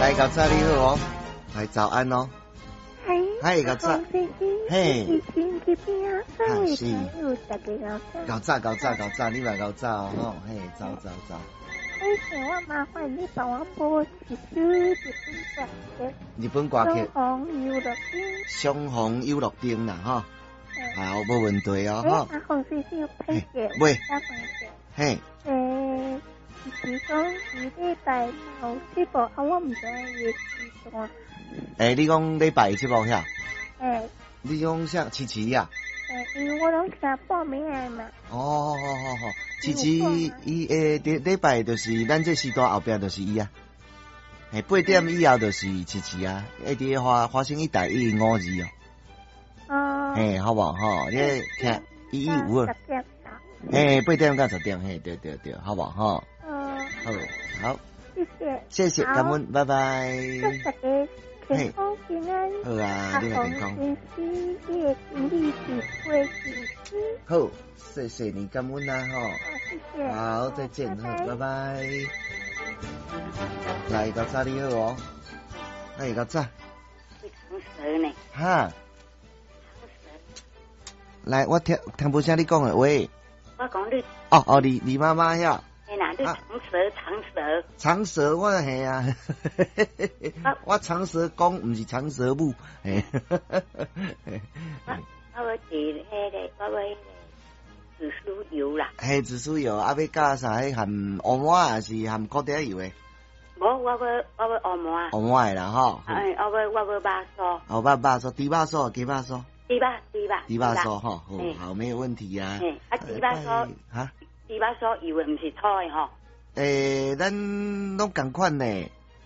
來，較早你好哦，來早安哦。嗨，較早。嘿。是。較早較早較早，你嘛較早哦，吼，嘿，早早早。欸，我麻煩你幫我播一首日本歌曲。日本歌曲。相逢遊樂場。相逢遊樂場啦，吼。好，無問題哦，吼。啊，洪先生歹勢。喂。嘿。欸，是講禮拜有節目，啊，我毋知影伊的時段。欸，你講禮拜節目遐？欸。你講啥？遲遲啊？欸，因為我攏聽報名的嘛。哦，好好好，遲遲伊會佇禮拜就是咱這時段後壁就是伊啊。嘿，8點以後就是遲遲啊，會佇華華星一台105二哦。哦。嘿，好無吼？你聽1152。嘿，8點到10點，嘿，對對對，好無吼？嗯。好，好。謝謝。謝謝，感恩，拜拜。祝大家健康平安。好啊，你也健康。好，謝謝你，感恩啊，吼。謝謝。好，再見，好，拜拜。來，較早你好哦。來，較早。長舌呢？哈。來，我聽聽無聲你講的話。我講你。哦哦，李李媽媽遐。嘿啦，你長舌長舌。長舌我係啊，我長舌公，毋是長舌母。嘿。我欲佇彼個，我欲彼個紫蘇油啦。嘿，紫蘇油啊，欲加啥？彼含烏麻還是含苦茶油的？無，我欲我欲烏麻。烏麻的啦，吼。哎，我欲我欲肉酥。哦，肉肉酥，豬肉酥，雞肉酥。豬肉豬肉。豬肉酥吼，好，好，沒有問題啊。啊，豬肉酥。哈？豬肉酥油的毋是粗的吼。欸，咱攏仝款呢，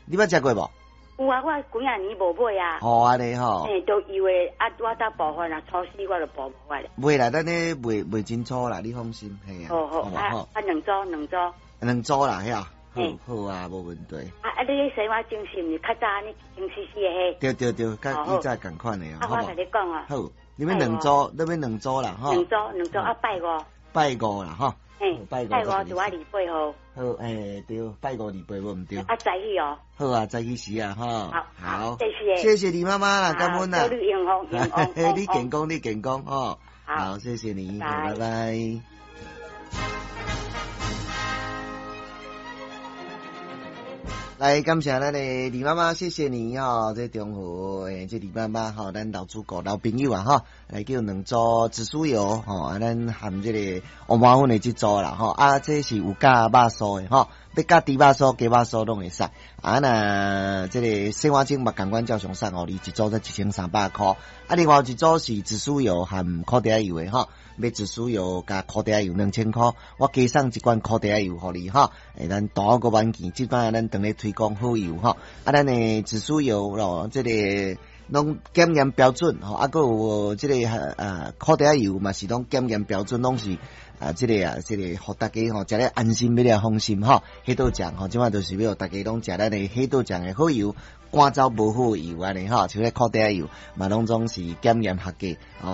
你捌食過無？有啊，我幾仔年無買啊。好按呢吼。嘿，都油的啊，我搭部分啊，粗死我就補無啊。袂啦，咱咧賣賣真粗啦，你放心，嘿啊。好好啊，啊兩組兩組。兩組啦，遐。好，好啊，無問題。啊啊，你彼洗碗精是毋是較早按呢精細細的彼？對對對，佮以前仝款的啊。啊，我共你講啊。好，你欲兩組，你欲兩組啦，吼。兩組兩組啊，拜五。拜五啦，吼。嘿，拜五拄仔28號。好，欸，對，拜五28無毋對。啊，早起哦。好啊，早起時啊，吼。好，好，謝謝。謝謝你媽媽啦，感恩啦。祝你幸福，幸福。你健康，你健康，吼。好，謝謝你，拜拜。來，感謝咱的李媽媽，謝謝你吼，這中和欸，這李媽媽吼，咱老主顧老朋友啊吼，來叫兩組紫蘇油吼，啊，咱含這個烏麻粉的這組啦吼，啊，這是有加肉酥的吼，欲加豬肉酥、雞肉酥攏會使。啊，若這個洗碗精嘛仝款照常送予你，一組才1300箍。啊，另外一組是紫蘇油含苦茶油的吼，欲紫蘇油加苦茶油2000箍，我加送一罐苦茶油予你吼。欸，咱大好閣挽見，這擺咱當咧推廣好油吼，啊，咱的紫蘇油咯，這個攏檢驗標準吼，啊，閣有這個啊苦茶油嘛是攏檢驗標準，攏是啊，這個啊，這個予大家吼食咧安心，買了放心吼。火刀醬吼，這擺就是欲予大家攏食咱的火刀醬的好油，趕走無好油按呢吼，像咧苦茶油嘛，攏總是檢驗合格。